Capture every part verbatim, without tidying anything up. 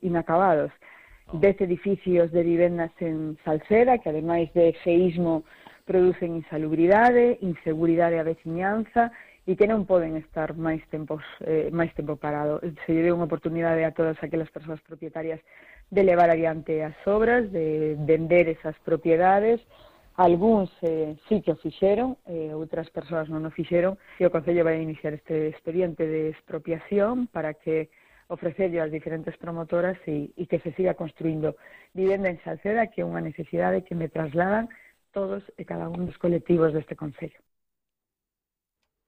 inacabados. Dez edificios de vivendas en Salceda, que ademais de feísmo producen insalubridade, inseguridade á veciñanza e que non poden estar máis tempos eh, máis tempo parado. Se lle deu unha oportunidade a todas aquelas persoas propietarias de levar adiante as obras, de vender esas propiedades. Algúns eh, sí que o fixeron, eh, outras persoas non o fixeron, e o Concello vai iniciar este expediente de expropiación para que ofrecerlle ás diferentes promotoras e, e que se siga construindo vivenda en Salceda, que é unha necesidade que me trasladan todos e cada un dos colectivos deste Concello.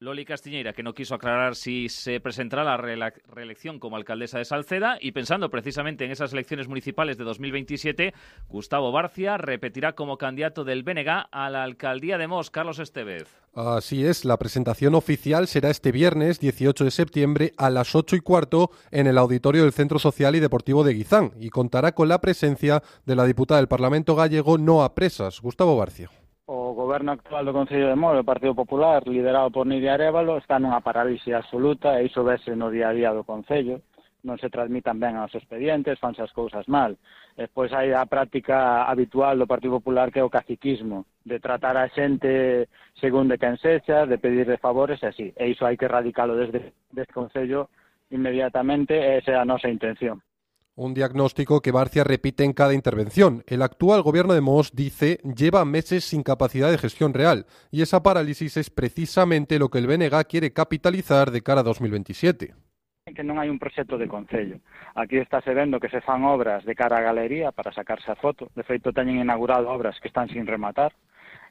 Loli Castiñeira, que no quiso aclarar si se presentará la reelección como alcaldesa de Salceda, y pensando precisamente en esas elecciones municipales de dos mil veintisiete, Gustavo Barcia repetirá como candidato del B N G a la alcaldía de Mos. Carlos Estevez. Así es, la presentación oficial será este viernes dieciocho de septiembre a las ocho y cuarto en el auditorio del Centro Social y Deportivo de Guizán y contará con la presencia de la diputada del Parlamento gallego Noa Presas. Gustavo Barcia. O goberno actual do Concello de Mos, o Partido Popular, liderado por Nidia Arévalo, está nunha parálisis absoluta e iso vese no día a día do Concello. Non se transmitan ben aos expedientes, fanse as cousas mal. Despois hai a práctica habitual do Partido Popular, que é o caciquismo, de tratar a xente según de quen sexa, de pedirle favores e así. E iso hai que erradicalo desde este Concello inmediatamente, e esa é a nosa intención. Un diagnóstico que Barcia repite en cada intervención. El actual gobierno de Mos, dice, lleva meses sin capacidad de gestión real y esa parálisis es precisamente lo que el B N G quiere capitalizar de cara a dos mil veintisiete. Que non hai un proxecto de Concello. Aquí estáse vendo que se fan obras de cara á galería para sacarse a foto. De feito, teñen inaugurado obras que están sin rematar.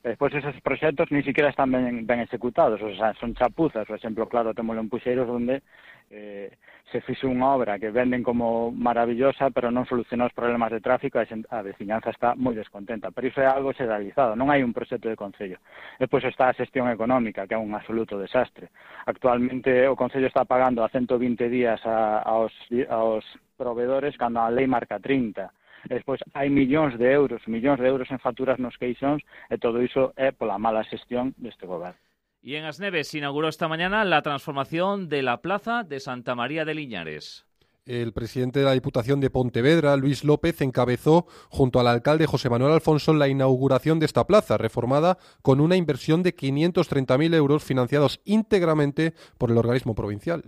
Despois, esos proxectos ni siquiera están ben, ben executados. O sea, son chapuzas. Por exemplo, claro, temos en Puxeiros onde eh, se fixo unha obra que venden como maravillosa, pero non solucionou os problemas de tráfico e a veciñanza está moi descontenta. Pero iso é algo xeralizado. Non hai un proxecto de Concello. Despois está a xestión económica, que é un absoluto desastre. Actualmente o Concello está pagando a ciento vinte días a, aos, aos proveedores cando a lei marca trinta. Despois hai millóns de euros, millóns de euros en facturas nos queixóns e todo iso é pola mala xestión deste goberno. Y en As Neves se inauguró esta mañana la transformación de la plaza de Santa María de Liñares. El presidente de la Diputación de Pontevedra, Luis López, encabezó junto al alcalde José Manuel Alfonso la inauguración de esta plaza, reformada con una inversión de quinientos treinta mil euros financiados íntegramente por el organismo provincial.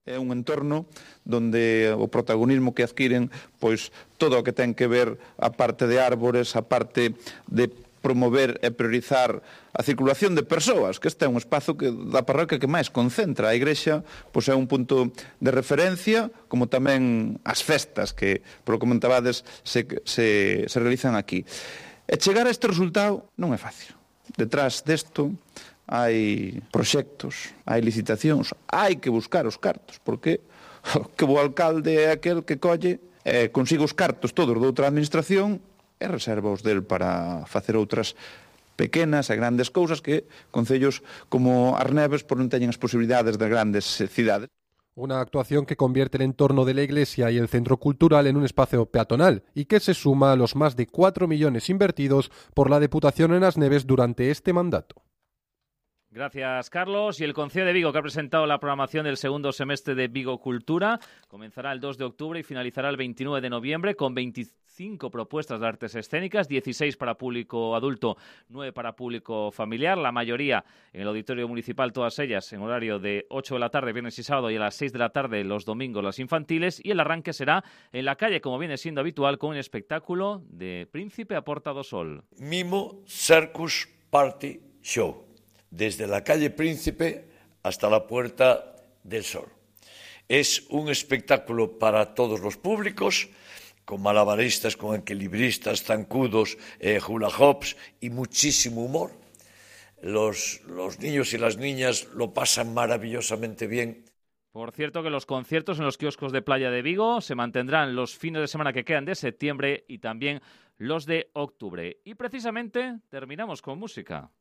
É un entorno donde o protagonismo que adquiren pois todo o que ten que ver a parte de árbores, a parte de promover e priorizar a circulación de persoas, que este é un espazo que da parroquia que máis concentra. A igrexa pois é un punto de referencia, como tamén as festas que, por o que comentabades, se, se, se realizan aquí. E chegar a este resultado non é fácil. Detrás desto hai proxectos, hai licitacións, hai que buscar os cartos, porque que o alcalde é aquel que colle e consigue os cartos todos de outra administración e reserva os del para facer outras pequenas e grandes cousas que concellos como As Neves por non teñen as posibilidades de grandes cidades. Una actuación que convierte el entorno de la iglesia y el centro cultural en un espacio peatonal y que se suma a los más de cuatro millones invertidos por la Deputación en As Neves durante este mandato. Gracias, Carlos. Y el Concello de Vigo, que ha presentado la programación del segundo semestre de Vigo Cultura, comenzará el dos de octubre y finalizará el veintinueve de noviembre con veinticinco propuestas de artes escénicas, dieciséis para público adulto, nueve para público familiar, la mayoría en el Auditorio Municipal, todas ellas en horario de ocho de la tarde, viernes y sábado, y a las seis de la tarde los domingos las infantiles, y el arranque será en la calle, como viene siendo habitual, con un espectáculo de Príncipe a Porta do Sol. Mimo Circus Party Show. Desde la calle Príncipe hasta la Puerta del Sol. Es un espectáculo para todos los públicos, con malabaristas, con equilibristas, zancudos, eh, hula hoops y muchísimo humor. Los, los niños y las niñas lo pasan maravillosamente bien. Por cierto, que los conciertos en los kioscos de Playa de Vigo se mantendrán los fines de semana que quedan de septiembre y también los de octubre. Y precisamente terminamos con música.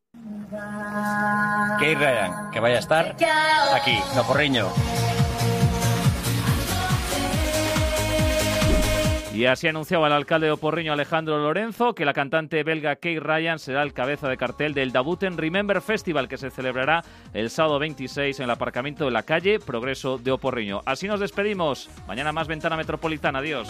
Que Ryan, que vaya a estar aquí, no Porriño. Y así anunciaba el alcalde de Oporriño, Alejandro Lorenzo, que la cantante belga Kay Ryan será el cabeza de cartel del Dabuten Remember Festival, que se celebrará el sábado veintiséis en el aparcamiento de la calle Progreso de Oporriño. Así nos despedimos. Mañana más Ventana Metropolitana. Adiós.